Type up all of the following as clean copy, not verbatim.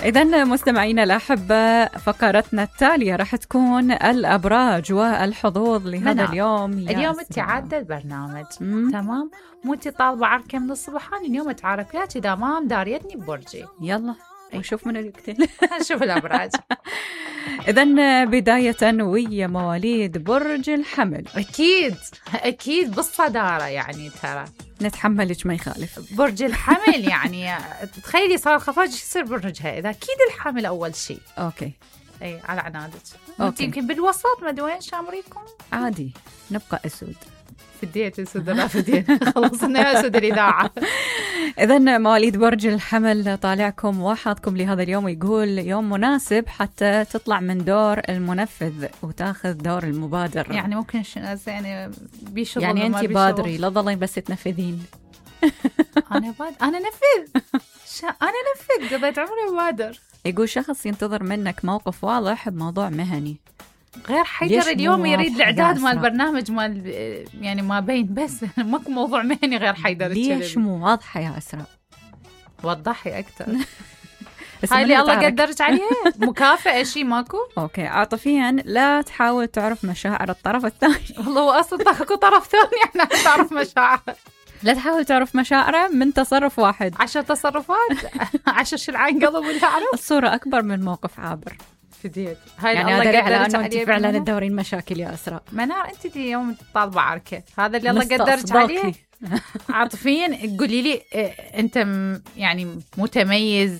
إذن مستمعينا الأحبة، فقرتنا التالية راح تكون الأبراج والحظوظ لهذا اليوم. اليوم انت عادة البرنامج تمام، مو انت طالبة عركة من الصبحان، اليوم اتعرف وياك إذا ما مداريتني ببرجي. يلا نشوف من يقتل. نشوف الأبراج. إذن بداية ويا مواليد برج الحمل. أكيد بالصدارة يعني، ترى نتحملك ما يخالف. برج الحمل يعني تخيلي صار خفاج يصير برجها، إذا أكيد الحمل أول شيء. أوكي. أي على عنادك. أنت يمكن بالوسط، ما أدري وين شامريكم. عادي نبقى أسود. فديت أسود لا فديت. خلصنا أسود الإذاعة. إذن مواليد برج الحمل طالعكم وحظكم لهذا اليوم، يقول يوم مناسب حتى تطلع من دور المنفذ وتاخذ دور المبادر. يعني ممكن يعني بيشغل، يعني أنت بادري لا تظلين بس تنفذين. أنا نفذ. أنا نفذ، قضيت عمري بادر. يقول شخص ينتظر منك موقف واضح بموضوع مهني. غير حيدر اليوم يريد الإعداد مال البرنامج مال يعني ما بين، بس ماكو موضوع مهني غير حيدر. ليش مو واضحة يا أسراء؟ وضحي أكثر. هاي اللي الله قدرت عليها مكافأة شيء ماكو. أوكي. عاطفيا لا تحاول تعرف مشاعر الطرف الثاني. والله هو أصلا اكو طرف ثاني احنا تعرف مشاعر. لا تحاول تعرف مشاعره من تصرف واحد. 10 تصرفات 10 شلعان قلب ولا أعرف. الصورة أكبر من موقف عابر. فديت. هاي يعني هذا على أنه أنت فعلا تدورين مشاكل يا أسراء. منار أنت اليوم طالبة عركة، هذا اللي الله قدرت عليه. عاطفيا قولي لي أنت يعني متميز،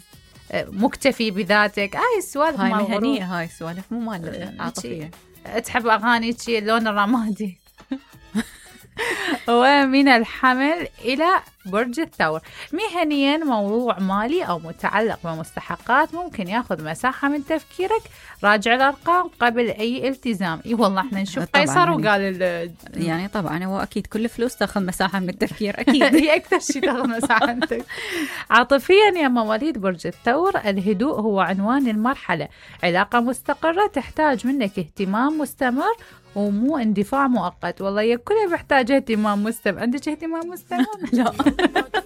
مكتفي بذاتك، هاي السوالف هاي مهنية، هاي السوالف مو مال عاطفية. تحب أغاني اللون الرمادي. ومن الحمل إلى برج الثور، مهنيا موضوع مالي أو متعلق بمستحقات ممكن ياخذ مساحة من تفكيرك، راجع الأرقام قبل أي التزام. إي والله احنا نشوف قيصر وقال يعني طبعا هو أكيد كل فلوس تاخذ مساحة من التفكير أكيد. هي أكثر شيء تاخذ مساحة من التفكير. عاطفيا يا مواليد برج الثور، الهدوء هو عنوان المرحلة، علاقة مستقرة تحتاج منك اهتمام مستمر ومو اندفاع مؤقت. والله كلها محتاجة اهتمام مستمر. عندك اهتمام مستمر؟ لا.